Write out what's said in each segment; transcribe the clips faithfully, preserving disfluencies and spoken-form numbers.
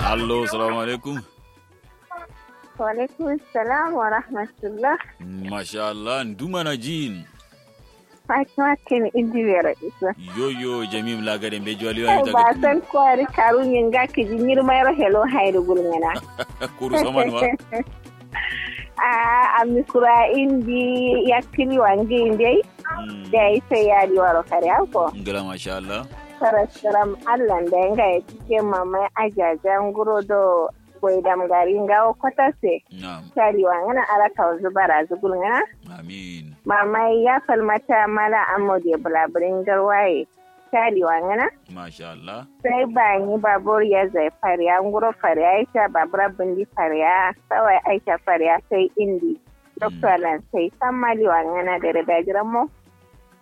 Allo, salamu alaikum. Walaikum salam wa rahmatullah. Masha Allah, ndu mana jin? Fatima kini indi wero iso. Yoyo, jamim lagade mbeji wali wani. Ba san kwari karu nyinga kiji nyirma yero helo hairu gulngana. Kuru saman wa? A amikura indi yakkili wangi indai. Da ita yadi waro kare ako. Ngila masha Allah. Sarasaram Allah da yanga ya cike mamai ajaja nguro do. Goidam gari ngawo kwatase. Na'am. Taliwa ngana ala kawanzu barazu gulngana. Amin. Mamai ya falmata mala amode bulaburin garwaye. Taliwa ngana. Masha Allah. Sai bani babur ya zai fariya nguro fariya aisha babura bindi fariya sawai aisha fariya sai indi. Doktor lan sai san maliwa ngana dare dajiran mo.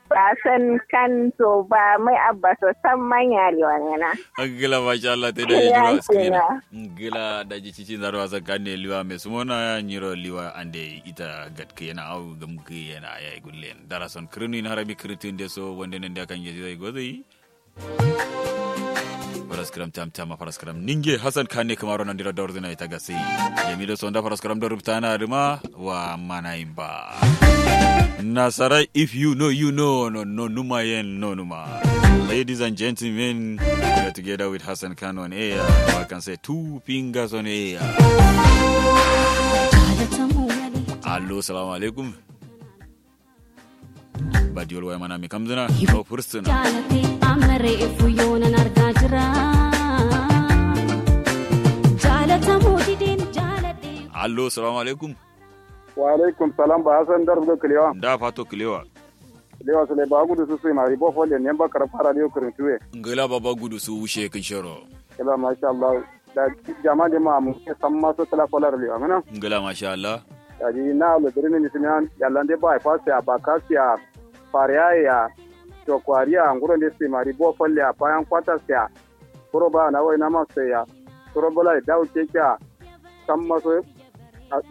Ba san kan to ba mai abba so san manya liwangana. Angila masha Allah te da ya jiro askina. Angila da ji cici zaro asan kan ne liwa mai sumona nyiro liwa ande ita gatke yana au gamke yana yayi gullen dara son kirinu in harami kiritin de so wanda nan da kan je zai gozai. Faraskaram tam tam faraskaram ninge hasan kane kamaro nan dira dawar zina ita gasi. Yami da sonda faraskaram da rubtana duma wa mana imba. Nasara, if you know, you know, no, no, numa yen, no, numa. Ladies and gentlemen, we are together with Hassan Khan on air. I can say two fingers on air. Allo, salamu alaikum. Ba diwol waya mana mi kamzina. Au fursuna. Allo, salamu alaikum. Wa alaikum salam ba hasan dar do kilewa. Da fato kilewa. Kilewa sule ba gudu su sai mari bo folle ne ba karfa radio kirin tuwe. Ngila baba gudu su wushe kin shero. Kila masha Allah. Da jama de ma mu samma so tala kolar liwa ngana. Ngila masha Allah. Da ji na lo diri ni simiyan yalla de ba fas ya ba kas ya fariya ya to kwariya nguro de sai mari bo folle ya bayan kwatas ya. Kuro ba na wai na ma sai ya. Kuro bola da uke kya samma so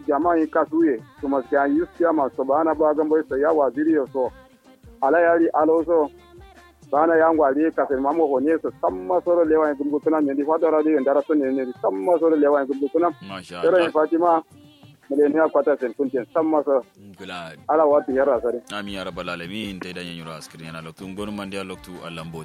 jama yi kasuye kuma sai yus ya ma so ba na ba gambo sai ya waziri yo so. Ala yari alo so. Bana yango ali kasen mamo hone so samma soro lewa en gumgutuna nyendi fado radio en dara so nyendi samma soro lewa en gumgutuna. Masha Allah. Soro en fatima. Mele ne akwata sen kunten samma so. Ngula. Ala wati yarra sare. Amin ya rabbal alamin. Tai da nyenyuro askirin yana loktu ngonu mandi a loktu alambo.